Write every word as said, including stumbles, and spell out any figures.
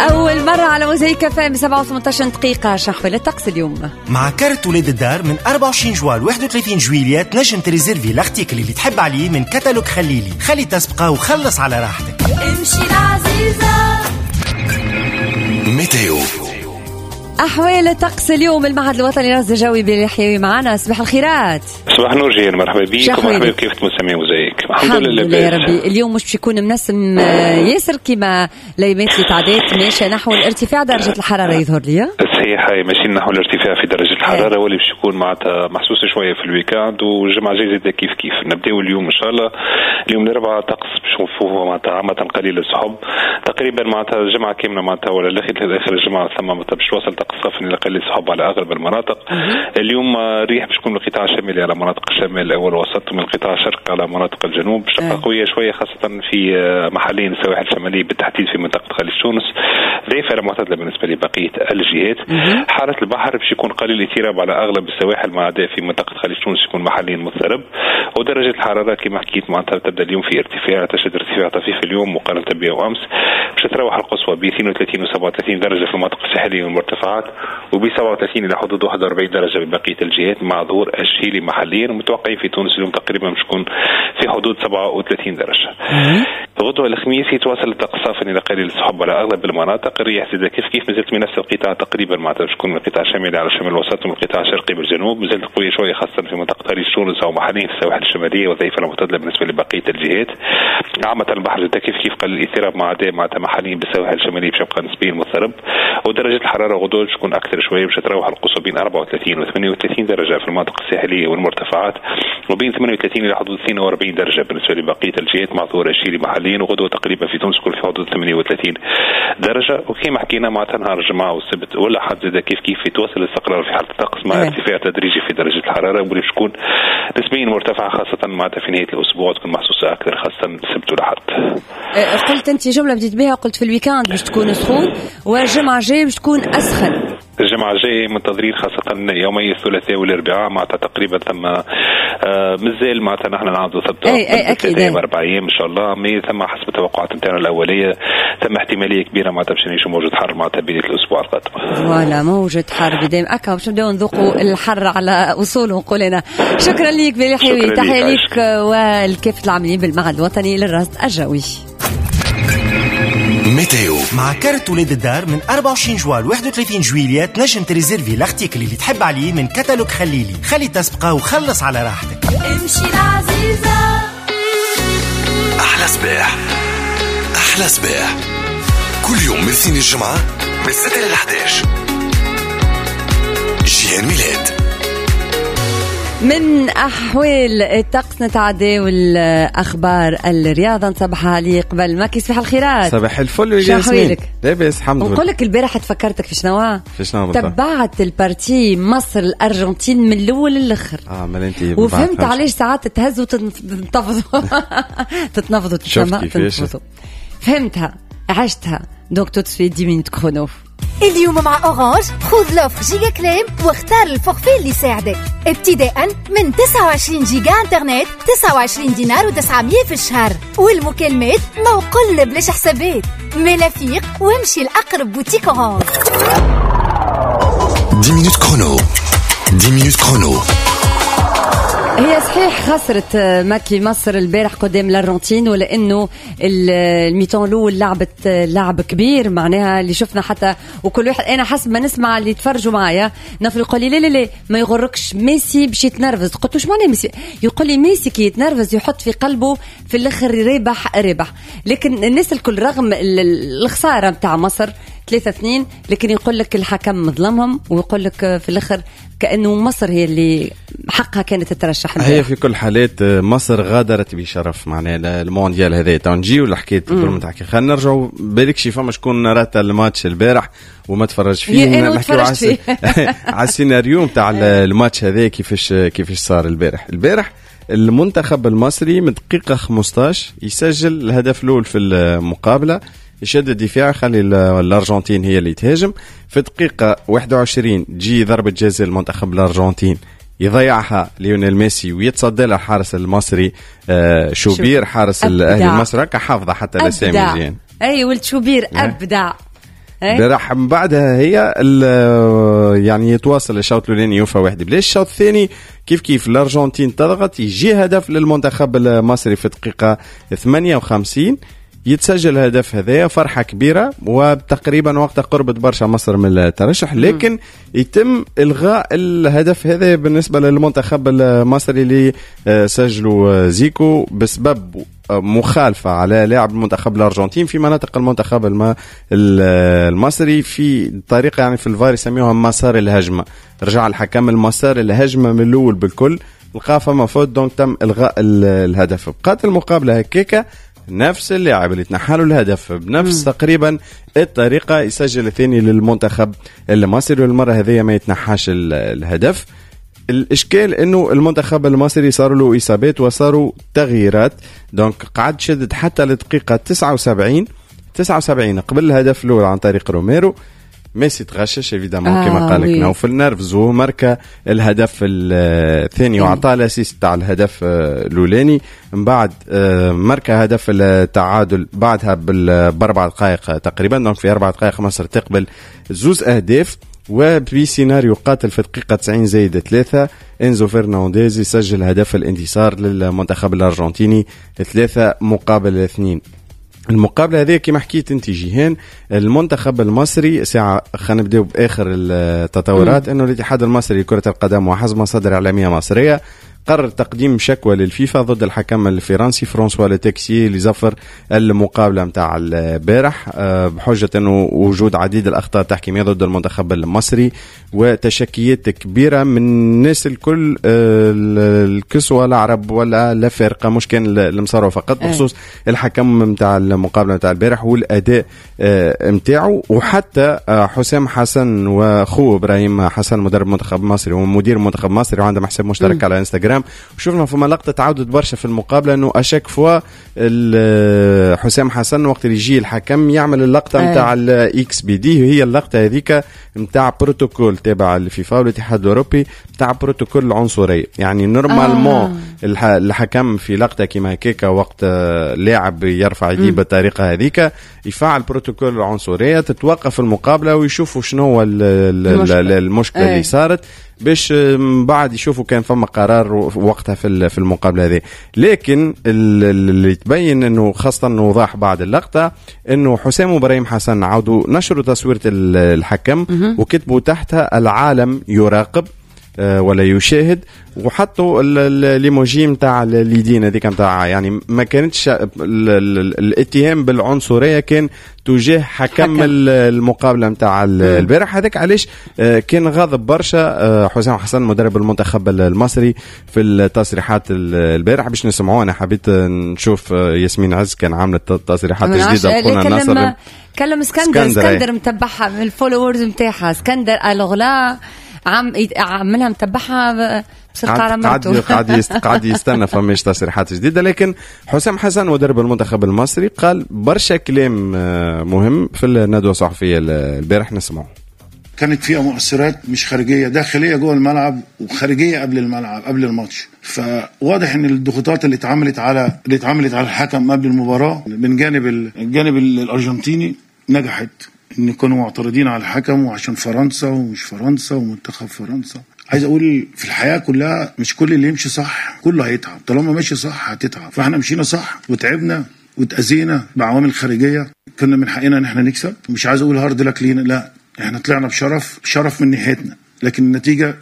أول مرة على موزايك FM، سبعة وثمانية عشر دقيقة. شحوال الطقس اليوم؟ مع كارت ولاد الدار، من أربعة وعشرين جوان ل واحد وثلاثين جويلية تنجم تريزيرفي l'article اللي تحب عليه من كتالوج خليلي. خلي تسبقه وخلص على راحتك. امشي العزيزة. météo. أحوال الطقس اليوم، المعهد الوطني للرصد الجوي باليحيوي معنا. صباح الخيرات. صباح النور جيل، مرحبا بك ومرحبا بكافة مستمعي موزايك. الحمد لله. يا ربي. اليوم مش باش يكون منسم آه، ياسر كما الايامات اللي تعدات، ماشية نحو الارتفاع درجه الحرارة يظهر لي. صحيح، هي ماشيين نحو الارتفاع في درجه الحراره، واللي باش يكون معناتها محسوس شوية في ال week-end، والجمعة الجاية زاد كيف كيف. نبداو اليوم ان شاء الله، اليوم الاربعاء، طقس باش نشوفوه معناتها عامة قليل السحب تقريبا، معناتها الجمعة كاملة معناتها ولا لاخر اخر الجمعة ثم معناتها باش توصل طقس صافي لقليل السحب على اغلب المناطق. اليوم الريح باش تكون من القطاع الشمالي على مناطق الشمال والوسط، ومن القطاع الشرقي على مناطق الجنوب، باش تبقى قوية شوية خاصة في محليا السواحل الشمالية، بالتحديد في منطقة خليج تونس، ضعيفة الى معتدلة بالنسبة لبقية الجهات. حاله البحر باش يكون قليل الاضطراب على اغلب السواحل، ما عدا في منطقة خليج تونس يكون محليا مضطرب. ودرجة الحرارة كما حكيت معناتها تبدا اليوم في ارتفاع، تشهد ارتفاع طفيف اليوم مقارنة بيوم امس، باش تتراوح القصوى ب اثنين وثلاثين و سبعة وثلاثين درجه في المناطق الساحلية والمرتفعات، وب سبعة وثلاثين الى حدود واحد وأربعين درجه ببقية الجهات، مع ظهور الشهيلي محليا. ومتوقعين في تونس اليوم تقريبا باش تكون في حدود سبعة وثلاثين درجه. غدوة الخميس يتواصل الطقس صافي الى قليل السحب على اغلب المناطق. الرياح زاد كيف كيف مازالت من نفس القطاع تقريبا، معناتها باش تكون من القطاع الشمالي على الشمال الوسط ومن القطاع الشرقي بالجنوب، مازالت قوية شوية خاصة في منطقة خليج تونس او محليا في السواحل الشماليه، وضعيفه المعتدلة بالنسبة لبقية الجهات. عامة البحر زاد كيف كيف قليل الاضطراب، ما عدا معناتها محليا بالسواحل الشمالية باش يبقى نسبيا مضطرب. ودرجة الحرارة غدوه باش تكون اكثر شويه، باش تتراوح القصوى بين أربعة وثلاثين و ثمانية وثلاثين درجه في المناطق الساحلية والمرتفعات، وبين ثمانية وثلاثين الى حدود اثنين وأربعين درجه بالنسبة لبقية الجهات، مع ظهور الشهيلي محليا. وغدوه تقريبا في تونس تكون في حدود ثمانية وثلاثين درجه. وكما حكينا معناتها نهار الجمعة والسبت والاحد زاد كيف كيف يتواصل الاستقرار في حاله الطقس، مع إيه. ارتفاع تدريجي في درجه الحرارة، واللي تكون نسبيا مرتفعة خاصة معناتها في نهاية الاسبوع، تكون محسوسة اكثر خاصة السبت والاحد. أه، قلت انت جملة بديت بها، قلت في ال week-end باش تكون سخون والجمعة الجاية باش تكون اسخن. الجمعة الجاية منتظرين خاصة يومي الثلاثاء والأربعاء، معناتها تقريبا ثم آه مازال معناتها نحن نعاودوا ثبتوا أي أي أكيد. ايام أربع أيام إن شاء الله، mais ثم حسب التوقعات نتاعنا الأولية ثم احتمالية كبيرة معناتها باش نعيشوا موجة حر معناتها بداية الأسبوع القادم. voilà، موجة حر بداية أكا باش نبداو نذوقوا الحر على أصوله نقول أنا. شكرا لك بلحيوي، تحية لك والكافة العاملين بالمعهد الوطني للرصد الجوي. météo. مع كارت ولاد الدار، من أربعة وعشرين جوان ل واحد وثلاثين جويلية تنجم تريزيرفي l'article اللي تحب عليه من كتالوج خليلي. خلي تسبقه وخلص على راحتك. امشي العزيزة. أحلى صباح، أحلى صباح، كل يوم من الاثنين الجمعة من ستة ل إحداش. جيهان ميلاد. من أحوال الطقس نتعدى والأخبار الرياضة، نصبح علي قبل ما صباح الخيرات. صباح الفل يا ياسمين، لاباس الحمد لله. نقول لك البارح تفكرتك في شنو؟ في شنو؟ تبعت ال partie مصر الأرجنتين من الأول للآخر. اه ما انت وفهمت علاش ساعات تهزوا وتنتفضوا، تتنفضوا، تتنفضوا. فهمتها، عشتها. donc tout de suite dix minutes chrono. اليوم مع Orange خذ l'offre giga كلام واختار ال forfait اللي يساعدك، ابتداء من تسعة وعشرين جيجا انترنت، تسعة وعشرين دينار وتسعمية في الشهر، والمكالمات موقل بلاش حسابات. مالا فيق وامشي لأقرب boutique Orange. dix minutes chrono، dix minutes chrono. هي صحيح خسرت ماكي مصر البارح قدام الارجنتين، ولانه ال mi-temps الاول لعبت لعب كبير، معناها اللي شفنا حتى وكل واحد، انا حسب ما نسمع اللي يتفرجوا معايا نفر يقول لي لا لا لا ما يغركش ميسي باش يتنرفز. قلت له معناها ميسي؟ يقول لي ميسي كي يتنرفز يحط في قلبه في الاخر ربح ربح. لكن الناس الكل رغم الخسارة نتاع مصر ثلاثة اثنين، لكن يقول لك الحكم ظلمهم، ويقول لك في الاخر كانه مصر هي اللي حقها كانت تترشح. هي في كل حالات مصر غادرت بشرف معناها المونديال هذا. تو نجيو لحكاية الظلم تحكي، خلينا نرجعوا بالك شي فما شكون رات الماتش البارح وما تفرج فيه. نحكيو على على السيناريو نتاع الماتش هذا، كيفاش كيفاش صار البارح. البارح المنتخب المصري من دقيقة خمسطاش يسجل الهدف الأول في المقابلة، يشد الدفاع، يخلي الارجنتين هي اللي تهاجم. في دقيقة واحد وعشرين تجي ضربة جزاء المنتخب الارجنتين، يضيعها ليونيل ميسي ويتصدى لها الحارس المصري آه، شوبير، حارس الاهلي المصري، هكا حافظه حتى الاسامي. اي ولد شوبير ابدع. البارح من بعدها هي يعني يتواصل الشوط الاولاني يوفى واحد بلاش. الشوط الثاني كيف كيف الارجنتين تضغط، يجي هدف للمنتخب المصري في دقيقة ثمانية وخمسين، يتسجل الهدف هذايا، فرحة كبيرة وتقريبا وقتها قربت برشا مصر من الترشح، لكن يتم إلغاء الهدف هذا بالنسبة للمنتخب المصري اللي سجلوا زيكو بسبب مخالفة على لاعب المنتخب الأرجنتين في مناطق المنتخب المصري في طريقة يعني في الفار يسميوها مسار الهجمة. رجع الحكم المسار الهجمة من الأول بالكل، لقى فما faute، donc تم إلغاء الهدف. بقات المقابلة هكاكا، نفس اللاعب اللي تنحلوا الهدف بنفس مم. تقريبا الطريقة يسجل الثاني للمنتخب المصري، والمرة هذه ما يتنحاش الهدف. الإشكال أنه المنتخب المصري صاروا له إصابات وصاروا تغييرات، donc قعد شدد حتى لدقيقة تسعة وسبعين تسعة وسبعين قبل الهدف الأول عن طريق روميرو. ميسي تغشش évidemment آه كما قال لك نوفل، نرفزو ماركا الهدف الثاني وعطاه ال assist تاع الهدف الاولاني. من بعد ماركا هدف التعادل بعدها باربع دقائق تقريبا، donc في اربع دقائق مصر تقبل زوز اهداف. وبسيناريو قاتل في دقيقة تسعين زايد ثلاثة، إنزو فرنانديز يسجل هدف الانتصار للمنتخب الأرجنتيني ثلاثة مقابل اثنين. المقابلة هذه كما حكيت انت جيهان، المنتخب المصري ساعة خلينا نبداو باخر التطورات، انه الاتحاد المصري لكرة القدم وحسب مصادر اعلامية مصرية قرر تقديم شكوى للفيفا ضد الحكم الفرنسي فرانسوا لوتكسي اللي زفر المقابلة متاع البارح بحجة انه وجود عديد الاخطاء التحكيميه ضد المنتخب المصري وتشكيات كبيرة من الناس الكل، الكسوة العرب ولا الافارقة، مش كان المصاروه فقط، بخصوص الحكم متاع المقابلة متاع البارح والاداء متاعه. وحتى حسام حسن واخوه ابراهيم حسن مدرب منتخب مصري ومدير منتخب مصري وعندهم حساب مشترك على انستغرام، وشفنا فما لقطة تعودت برشا في المقابلة انه à chaque fois حسام حسن وقت اللي يجي الحكم يعمل اللقطة نتاع ال X بيديه، هي اللقطة هذيك نتاع بروتوكول تابع الفيفا والاتحاد الاوروبي نتاع بروتوكول العنصرية. يعني normalement آه. الحكم في لقطة كيما هكاك وقت لاعب يرفع يديه بالطريقة هذيك يفعل بروتوكول العنصرية، تتوقف المقابلة ويشوفوا شنو هو المشكلة اللي صارت باش من بعد يشوفوا كان فما قرار وقتها في في المقابلة هذه. لكن اللي تبين انه خاصة انه وضح بعد اللقطة انه حسام وابراهيم حسن عاودوا نشروا تصويره الحكم وكتبوا تحتها العالم يراقب ولا يشاهد، وحطوا ليموجي نتاع اليدين هذيك نتاع، يعني ما كانتش الاتهام بالعنصريه كان تجاه حكم, حكم. المقابلة نتاع البارح هذاك. علاش كان غاضب برشا حسام حسن مدرب المنتخب المصري في التصريحات البارح باش نسمعوه. انا حبيت نشوف ياسمين عز كان عامله تصريحات جديدة قلنا ناصر كلم اسكندر اسكندر متبعها من ال followers نتاعها، اسكندر alors là عم عملها متبعها بسرعة على مرته، قاعد قاعد يستنى فماش تصريحات جديدة. لكن حسام حسن مدرب المنتخب المصري قال برشا كلام مهم في الندوة الصحفية البارح، نسمعه. كانت فيها مؤثرات مش خارجية، داخلية جوه الملعب وخارجيه قبل الملعب قبل الماتش. فواضح ان الضغوطات اللي اتعملت على اللي اتعملت على الحكم قبل المباراة من جانب الجانب الارجنتيني نجحت، ان كانوا معترضين على الحكم وعشان فرنسا ومش فرنسا ومنتخب فرنسا. عايز اقول في الحياة كلها مش كل اللي يمشي صح كله هيتعب، طالما ماشي صح هتتعب. فاحنا مشينا صح وتعبنا وتأذينا بعوامل خارجية، كنا من حقنا ان احنا نكسب. مش عايز اقول hard luck لينا، لا احنا طلعنا بشرف، شرف من ناحيتنا، لكن النتيجة